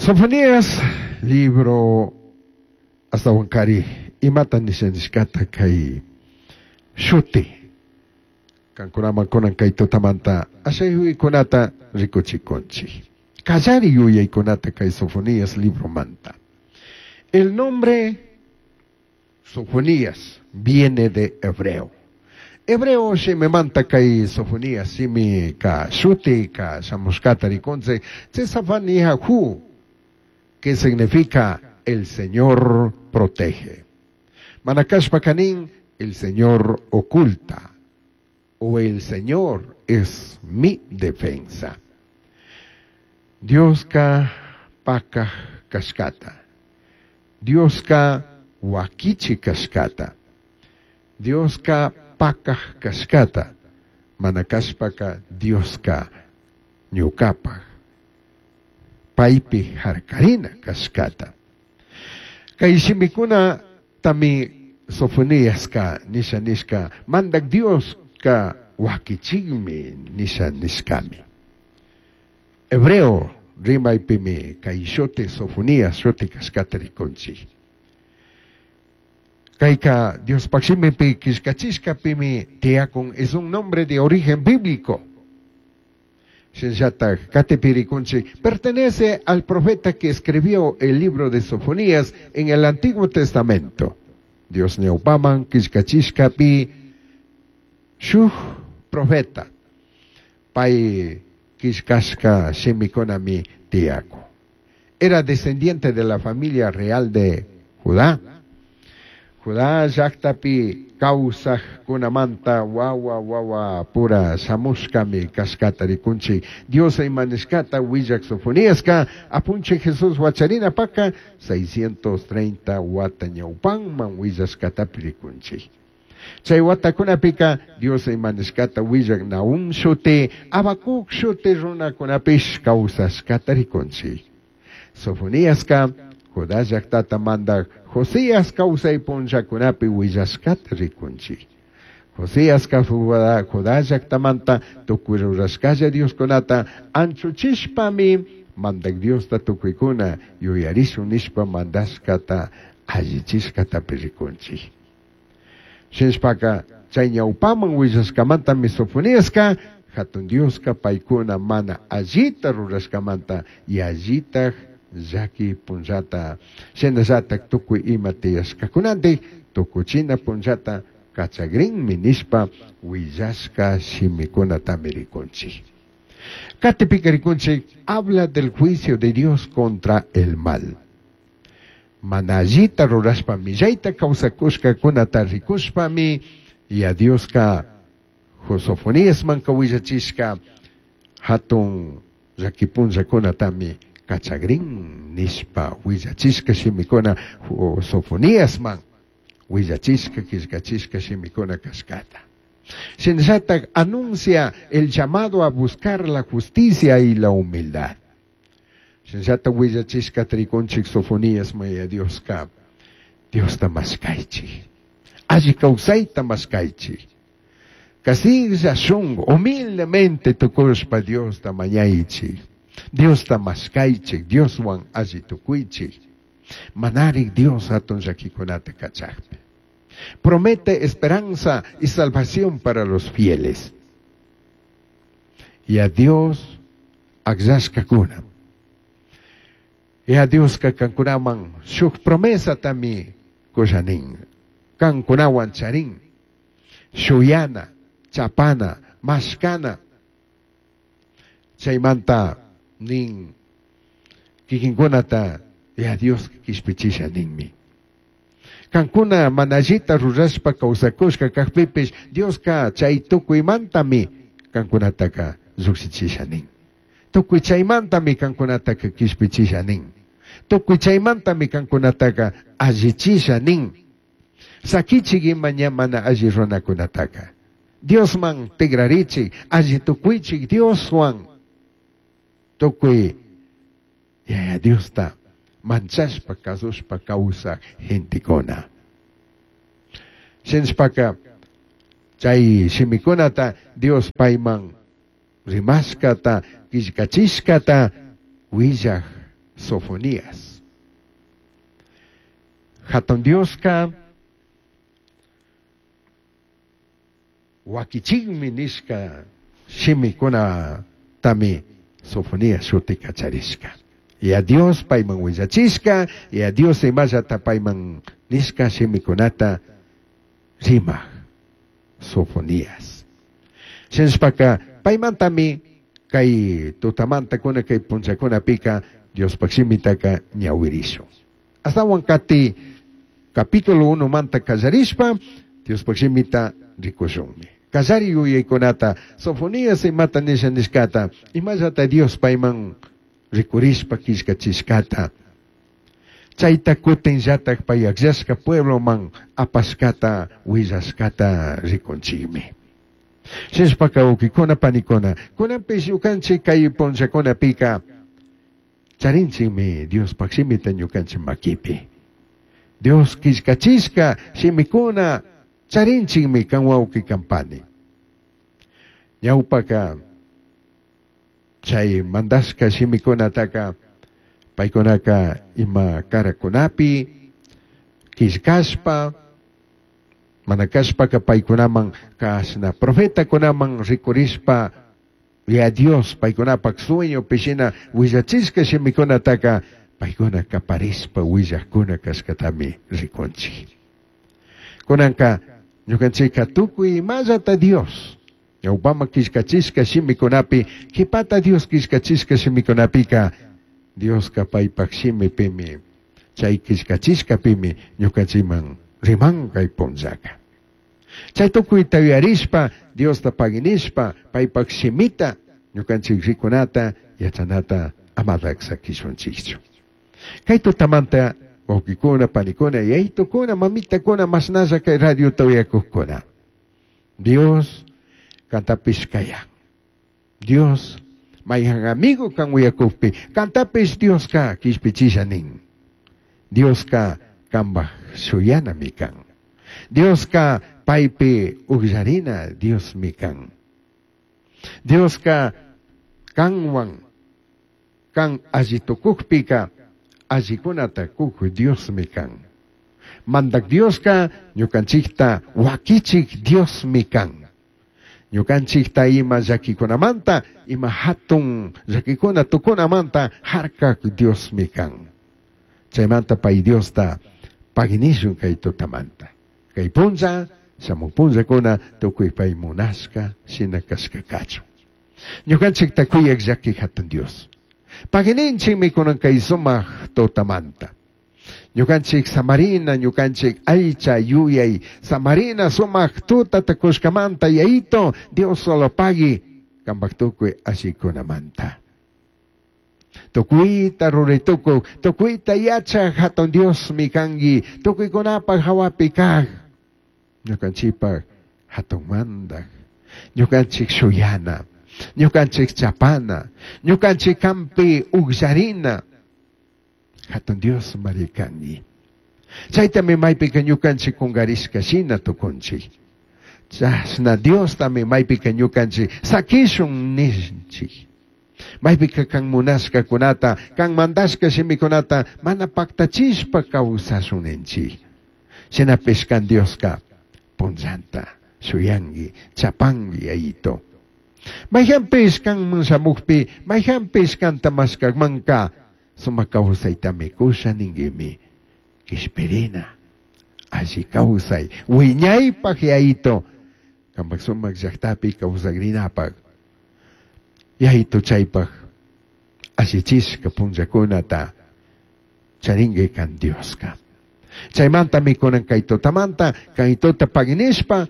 Sofonías libro ashtahuancari imata nisha nishcata cai shuti cancunaman cunan cai tutamanta asha yuyaicunata ricuchicunchij. Callari yuyaicunata cai Sofonías libromanta. El nombre Sofonías viene de hebreo. Hebreo shimimanta cai Sofonías shimica shutica shamushcata ricunchij. Hu, que significa "el Señor protege". Mana cashpaca nin, "el Señor oculta" o "el Señor es mi defensa". Diosca pacaj cashcata. Diosca huaquichi cashcata. Diosca pacaj cashcata. Mana cashpaca Diosca ñucapaj paipi jarcarina cashcata. Cai shimicunatami Sofoniasca nisha nishca Mandaj Diosca huaquichijmi nisha nishcami. Hebreo rimaipimi cai shuti Sofonías shuti cashcata ricunchij. Caica Diospaj shimipi quillcachishcapimi tiyacun, es un nombre de origen bíblico. Shinallataj catipi ricunchij pertenece al profeta que escribió el libro de Sofonías en el Antiguo Testamento. Dios ñaupaman quillcachishcapi shuj profeta pai quillcashca shimicunami tiyacun. Era descendiente de la familia real de Judá. Judá llajtapi causajcunamanta huahua huahua pura shamushcami cashcata ricunchij. Dios ima nishcata huillaj Sofoniasca Apunchij Jesús huacharinapaca 630 huata ñaupanman huillashcatapi ricunchij. Chai huatacunapica Dios ima nishcata huillaj Nahum shuti, Habacuc shuti runacunapish causashcata ricunchij. Sofoniasca Judá llajtata mandaj Josías causai punllacunapi huillashcata ricunchij. Josíasca Judá llajtamanta tucui rurashcalla dioscunata anchuchishpami Mandaj Diosta tucuicuna yuyarishun nishpa mandashcata allichishcatapi ricunchij. Shinashpaca chai ñaupaman huillashcamantami Sofoniasca Jatun Diosca paicuna mana allita rurashcamanta yallitaj llaqui punllata shinallataj tucui ima tiyashcacunanti tucuchina punllata cachagrinmi nishpa huillashca shimicunatami ricunchij. Catipica ricunchij habla del juicio de Dios contra el mal. Mana allita rurashpa millaita causacushcacunata ricushpami ya Diosca Sofoniasmanca huillachishca jatun llaqui punllacunatami cachagrin nishpa huillachishca shimicuna Sofoniasman huillachishca quillcachishca shimicuna cashcata. Shinallataj anuncia el llamado a buscar la justicia y la humildad. Shinallataj huillachishcata ricunchij Sofonías maya Diosca Diosta mashcaichij. Alli causaita mashcaichij. Casilla shungu, humildemente tucushpa Diosta mañaichij. Diosta mashcaichij, Dioshuan alli tucuichij. Manarij Dios hatun llaquicunata cachajpi. Promete esperanza y salvación para los fieles. Y a Dios agllashcacuna. Y a Diosca cancunaman shuj promesatami cushanin. Cancunahuan charin. Shuyana, chapana, mashcana. Chaymanta nin kikinkunata ya Dios quishpichisha ninmi. Cancuna mana allita rurashpa causacushca cajpipish Diosca chay tucuimantami cancunataca llujshichisha nin. Tucui chaymantami cancunataca quishpichisha nin. Tucui chaymantami cancunataca allichisha nin. Saquichik ima ña mana alli runacunataca. Diosman tigrarichik, alli tucuichik Dioswan. Tucui Yaya Diosta manchashpa cazushpa causaj gentecuna. Shinashpaca chay shimicunata Dios paiman rimashcata, quillcachishcata huillaj Sofonías. Hatun Dioska wakichikmi nishka shimikunatami Sofonías shutika charishka. Ya Dios payman willachishka, ya Dios imallata payman nishka shimikunata rimaq Sofonías. Shinashpaka paymantami kay tutamantakuna kay punllakunapika Diospaq shimitaka ñawirishun. Astawan kati capítulo 1 manta kallarishpa Diospaq shimita rikushunmi. Kallari yuyaykunata Sofonías imata nisha nishkata imallata Dios payman rikurishpa killkachishkata chayta kutinllatak pay akllashka puebloman apashkata willashkata rikunchikmi. Shinashpaka wawkikuna panikuna kunanpish ñukanchik kay punllakunapika charinchikmi Diospaq shimita ñukanchik makipi. Dios killkachishka shimikuna charinchikmi kan wawqi kan pani. Ñawpaka chay mandashka shimikunataka paykunaka ima karakunapi killkashpa mana kashpaka paykunaman kashna profetakunaman rikurishpa ya Dios paykunapak sueñopi shina willachishka shimikunataka paykuna kaparishpa willakuna kashkatami rikunchik. Kunanka ñukanchikka tukuy imallata Dios ñawpaman killkachishka shimikunapi qhipata Dios killkachishka shimikunapika Dioska paypak shimipimi chay killkachishkapimi ñukanchikman riman kay punllaka. Chay tukuyta yuyarishpa Diosta paginishpa paypak shimita ñukanchik rikunata yachanata amatak sakishunchikchu. Kay tutamanta wawqikuna panikuna yaytukuna mamitakuna mashnalla kay radiota uyakuqkuna. Dios kantapish kayan. Dios mayhan amigo kan uyakukpi kantapish Dioska kishpichisha nin. Dioska kanpaj shuyanami kan. Dioska paypi ukllarina Diosmi kan. Dioska kanwan kan alli tukukpika allikunata kuk Diosmi kan. Mandak Dioska ñukanchikta wakichik Diosmi kan. Ñukanchikta ima llakikunamanta, ima hatun llakikuna tukunamanta harkak Diosmi kan. Chaymanta pay Diosta paginishun kay tutamanta. Kay punlla, shamuq punllakuna tukuy pay munashka shina kashka kachun. Ñukanchikta kuyak llaki hatun Dios. Pagininchikmi kunan kay sumaq tutamanta. Ñukanchik samarina, ñukanchik aycha yuyay, samarina sumaq tutata kushkamanta yayito, Dios solo pagui kanpak tukuy allikunamanta. Tukuyta ruray tukuk, tukuyta yachak hatun Diosmi kanki, tukuykunapaq hawapi kaq. Ñukanchikpak hatun mandak, ñukanchik shuyana, ñukanchik chapana, ñukanchik kampi ukllarina. Hatun Dios mari kanki. Chaytami maypika ñukanchik kunkarishka shina tukunchik. Chashna Diostami maypika ñukanchik sakishun ninchik. Maypika kan munashkakunata, kan mandashka shimikunata mana paktachishpa kawsashun ninchik. Shinapish kan Dioska punllanta shuyanki, chapanki yayito. Mayhanpish kanman shamukpi, mayhanpish kanta mashkakmanka sumak kawsaytami kusha ninkimi. Kishpirina, alli kawsay, wiñaypaq yayito, kanpak sumak llaktapi kawsakrinapaq. Yayito chaypaq allichishka punllakunata charinki kan Dioska. Chaymantami kunan kay tutamanta, kay tuta paginishpa,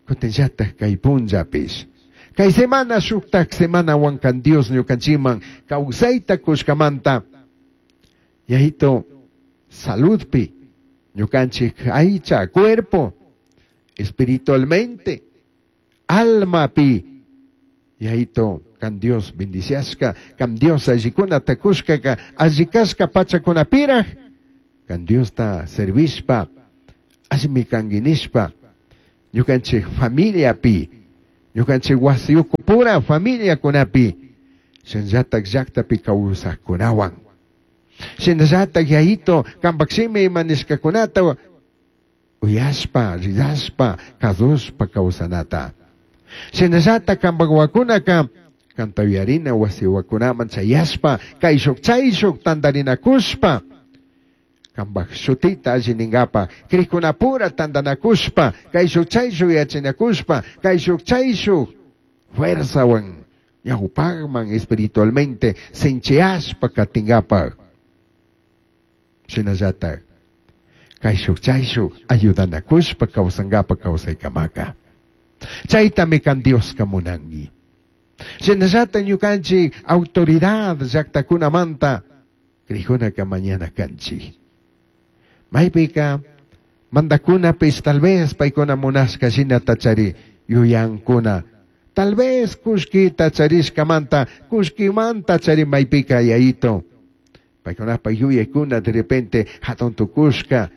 kutinllatak kay punllapish. Kay semana shuktak semanawan kan Dios ñukanchikman kawsayta kushkamanta. Yayito saludpi ñukanchik aycha cuerpo espiritualmente almapi yayito kan Dios bendiciashka kan Dios allikunata kushkaka allikashka pachakunapiraj kan Diosta servishpa allimi kanki nishpa ñukanchik familiapi ñukanchik wasi ukupura familiakunapi shinallatak llaktapi kawsakkunawan. Shinallataq yayito qanpaq shimi ima nishkakunata uyashpa, rirashpa, kasushpa kawsanata. Shinallataq qanpaq wawakunaka kanta uyarina wasi wawakunaman chayashpa kayshuk chayshuk tantarinakushpa qanpaq shutita alli ninkapa krikkunapura tantanakushpa kayshuk chayshuk yachanakushpa kayshuk chayshuk fuerzawan ñawpaqman espiritualmente sinchiyashpa katinkapaq. Shinallataq kayshuk chayshuk ayudanakushpa kawsankapa kawsaykamaka. Chaytami kan Dioska munanki. Shinallataq ñukanchik autoridad llaqtakunamanta krikunaka mañana kanchik. Maypika mandakunapish tal vez paykuna munashka shinata chari yuyankuna. Tal vez kullkita charishkamanta, kullkimanta chari maypika yayito. Paykunapaq yuyaykuna de repente hatun tukushka.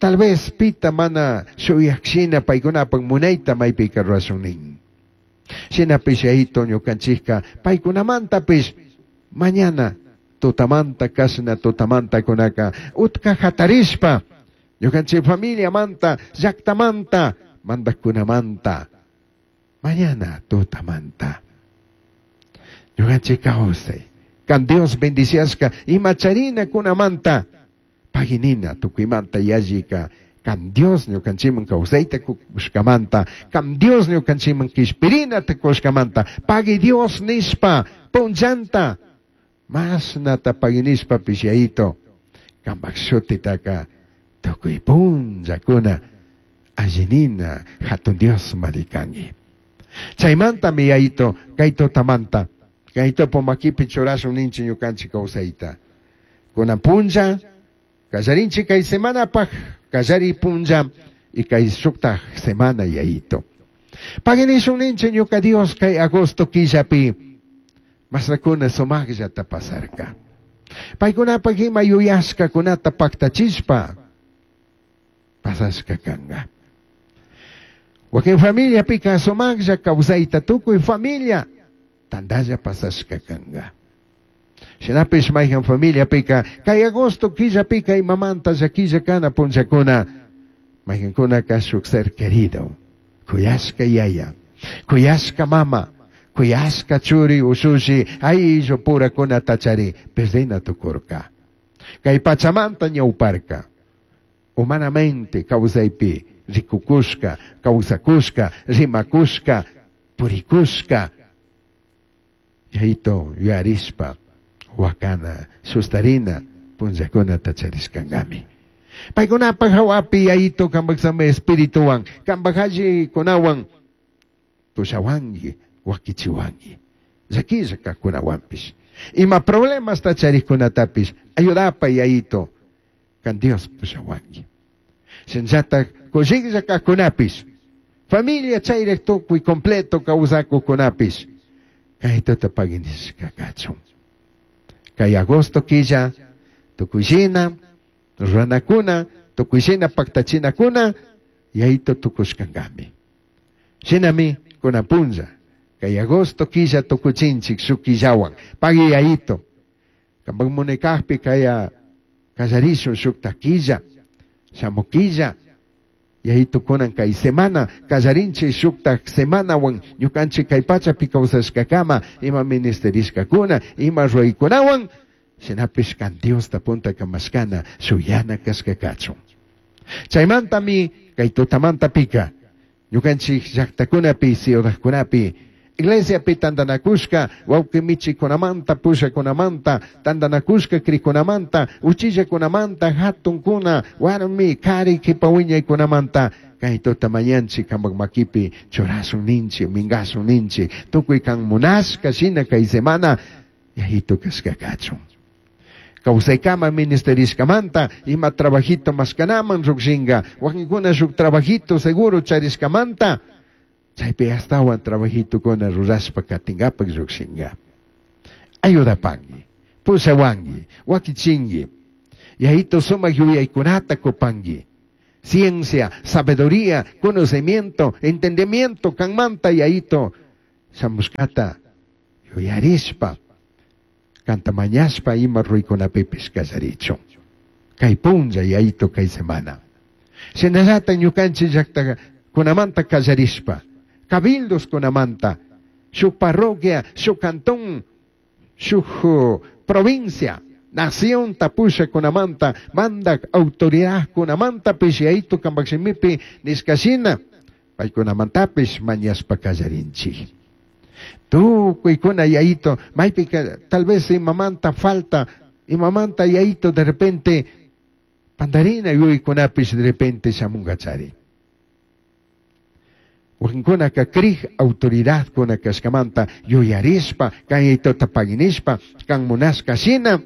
Tal vez pita mana shuyakshina paykunapaq munayta maypika rurashun nin. Shinapish yayito ñukanchikka paykunamantapish mañana tutamanta kashna tutamanta kunaka utka hatarishpa ñukanchik familiamanta llaqtamanta mandaqkunamanta mañana tutamanta ñukanchik kawsay kan Dios bendiciashka ima charinakunamanta paginina tukuymanta yallika kan Dios ñukanchikman kawsayta kushkamanta kan Dios ñukanchikman kishpirinata kushkamanta pagui Dios nishpa punllanta mashnata paginishpapish yayito kanpak shutitaka tukuy punllakuna allinina hatun Dios marikanki. Chaymantami yayito kay tutamanta kay topo makipi churashun ninchik ñukanchik kawsayta. Kunan punlla kallarinchik kay semanapaq kallari punlla y kay shuktaq semana yayito. Paginishun ninchik ñuka Dios kay agosto killapi masnakuna sumaqllata pasarka. Paykunapaq ima yuyashkakunata paktachishpa pasashka kanka. Wakin familiapika sumaqlla kawsayta tukuy familia tantalla pasashka kanka. Shinapish mayhan familiapika kay agosto killapika imamanta llakilla kana punllakuna mayhankunaka shuk ser querido kuyashka yaya kuyashka mama kuyashka churi ushushi ayllu purakunata chari perdina tukurka. Kay pachamanta ñawparka humanamente kawsaypi rikukushka kawsakushka rimakushka purikushka yayito yuyarishpa wakana sustarina punllakunata charishkankami. Paykunapaq hawapi yayito kanpak sami espirituwan kanpak allikunawan pushawanki wakichiwanki llakilla kaqkunawanpish ima problemasta charikkunatapish ayudapa yayito kan Dios pushawanki. Shinallataq kushiklla kaqkunapish familia chayraq tukuy completo kawsakuqkunapish kaytata paginishka kachun. Kay agosto killa tukuyshina ruranakuna tukuyshina paktachinakuna yayito tukushkankami. Shinami kunan punlla kay agosto killa tukuchinchik shuk killawan pagui yayito kanpak munaykaqpi kaya kallarishun shukta killa shamuq killa yayito kunan kay semana kallarinchik shukta semanawan ñukanchik kay pachapi kawsashkakama ima ministerishkakuna ima ruraykunawan shinapish kan Diosta punta kamashkana shuyana kashka kachun. Chaymantami kay tutamantapika ñukanchik llaqtakunapi ciudadkunapi iglesiapi tantanakushka wawqi michikunamanta pushakunamanta tantanakushka krikunamanta uchillakunamanta hatunkuna warmi kari kipa wiñaykunamanta kay tuta mañanchik kanpak makipi churashun ninchik minkashun ninchik tukuy kan munashka shina kay semana yayito kashka kachun. Kawsaykama ministerishkamanta ima trabajito mashkanaman llukshinka wakinkuna shuk trabajito seguro charishkamanta chaypi astawan trabajitukuna rurashpa katinkapak llukshinka. Ayudapanki, pushawanki, wakichinki, yayito sumak yuyaykunata kupanki. Ciencia, sabiduría, conocimiento, entendimiento kanmanta yayito shamushkata yuyarishpa. Kanta mañashpa ima ruraykunapipish kallarichun. Kay punlla yayito kay semana. Shinallata ñukanchik llaqtakunamanta kallarishpa, cabildoskunamanta, shuk parroquia, shuk cantón, shuk provincia, nación tapushakunamanta, mandak autoridadkunamantapish yayito kanpak shimipi nishkashina, paykunamantapish mañashpa kallarinchik. Tukuykuna yayito, maypika tal vez imamanta falta, imamanta yayito de repente pandarina yuyaykunapish de repente shamunkachari. Wakinkunaka krij autoridadkuna kashkamanta yuyarishpa, kan yayitota paginishpa, kan munashka shina,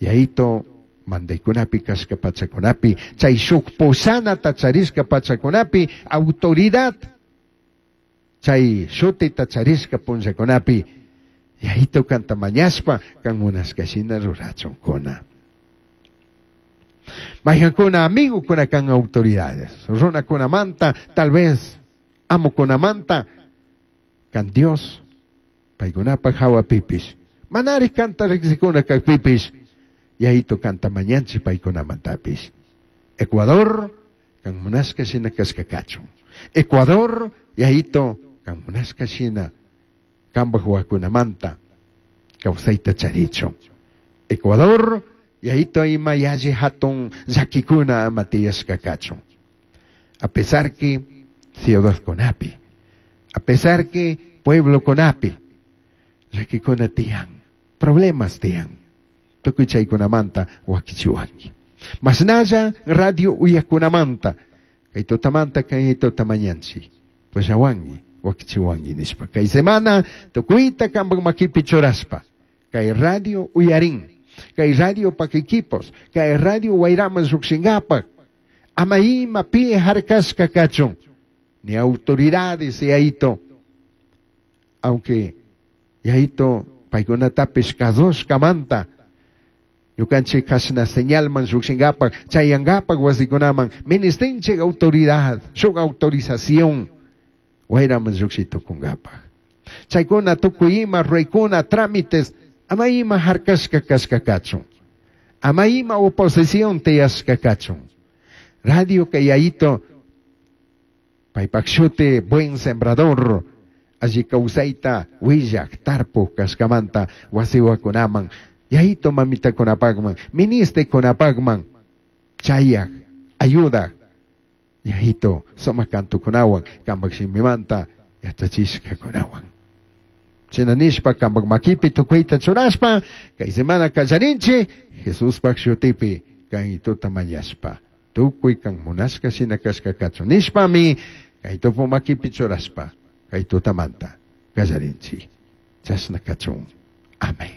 yayito mandaykunapi kashka pachakunapi, chay shuk pushanata charishka pachakunapi, autoridad, chay shutita charishka punllakunapi, yayito kanta mañashpa, kan munashka shina rurachunkuna. Mayhankuna amigokuna kan autoridades, runakunamanta, tal vez amokunamanta, kan Dios, paykunapaj hawapipish, manari kanta riqsikuna kajpipish, yayito kanta mañanchik paykunamantapish. Ecuador, kan munashka shina kashka kachun. Ecuador, yayito, kan munashka shina, kanpaj wawakunamanta, kawsayta charichun. Ecuador, yayito ima yalli hatun llakikuna ama tiyashka kachun. A pesar que ciudadkunapi, a pesar que pueblokunapi, llakikuna tiyan, problemas tiyan, tukuy chaykunamanta wakichiwanki. Mashnalla radio uyakunamanta, kay tutamanta kay tuta mañanchik, pushawanki, wakichiwanki nishpa. Kay semana tukuyta kanpak makipi churashpa, kay radio uyarin, kay radio pak equipos, kay radio wayraman llukshinkapak, ama ima pi harkashka kachun, ni autoridades yayito, aunque yayito paykunatapish kasushkamanta, ñukanchik kashna señalman llukshinkapak, chayankapak wasikunaman, ministinchik autoridad, shuk autorización, wayraman llukshay tukunkapak. Chaykuna tukuy ima ruraykuna, trámites, ama ima harkashka kashka kachun, ama ima oposición tiyashka kachun. Radio kay yayito, paypak shuti buen sembrador, alli kawsayta willak tarpuk kashkamanta wasiwakunaman, yayito mamitakunapakman, ministekunapakman, chayak, ayudak, yayito sumak kantukunawan, kanpak shimimanta yachachishkakunawan. Shina nishpa kanpak makipi tukuyta churashpa, kay semana kallarinchik, Jesuspak shutipi kayituta mañashpa, tukuy kan munashka shina kashka kachun nishpami, kay tupu makipi churashpa, kay tutamanta kallarinchik. Chashna kachun. Amén.